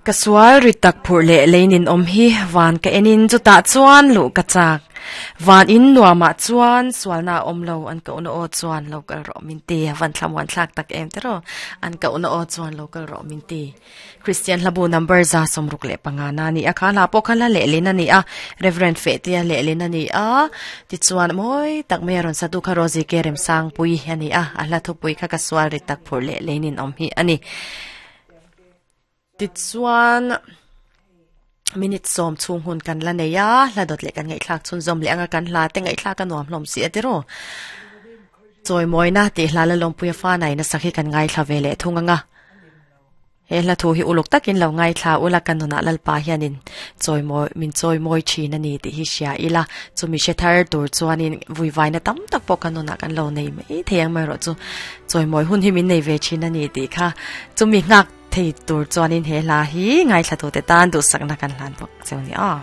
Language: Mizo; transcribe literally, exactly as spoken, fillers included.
Ka sual ri tak phurh leh leinin awm hi van ka enin chutah chuan luh ka chak. Van in nuamah chuan sualna a awm lo an kohna aw chuan lo kal rawh min ti. Van thlamuan thlak tak em te rawh an kohna aw chuan lo kal rawh min ti. Christian hlabu number za sawmruk leh panga na a ni a, kha hla pawh kha hla lehlin a ni a, Reverend Fehtea lehlin a ni a, tichuan mawi tak mai a rawn satu kha Rosie K Remsangpui a ni a, a hla thupui kha ka sual ri tak phurh leh leinin awm hi a ni. Tichuan minute sawm chhung hun kan la nei a, hla dawt leh kan ngaihthlak chhunzawm leh anga kan hla te ngaihthlak a nuam hlawm si a tiraw. Chawimawina tih hla la lawmpui a fa nai nasa khi kan ngaithla ve leh thung anga. He hla thu hi uluk takin lo ngaithla ula kan nunah Lalpa hianin chawimawi min chawimawi thin a ni tih hi hria ila chumi hre thar tur chuanin vuivaina tam tak pawh kan nunah kan lo nei mai thei ang mai erawh chu chawimawi hun hi min nei ve thin a ni tih kha chumi nghak thei tur chuanin he hla hi ngaithla tute tan duhsakna kan hlan bawk cheu ni aw.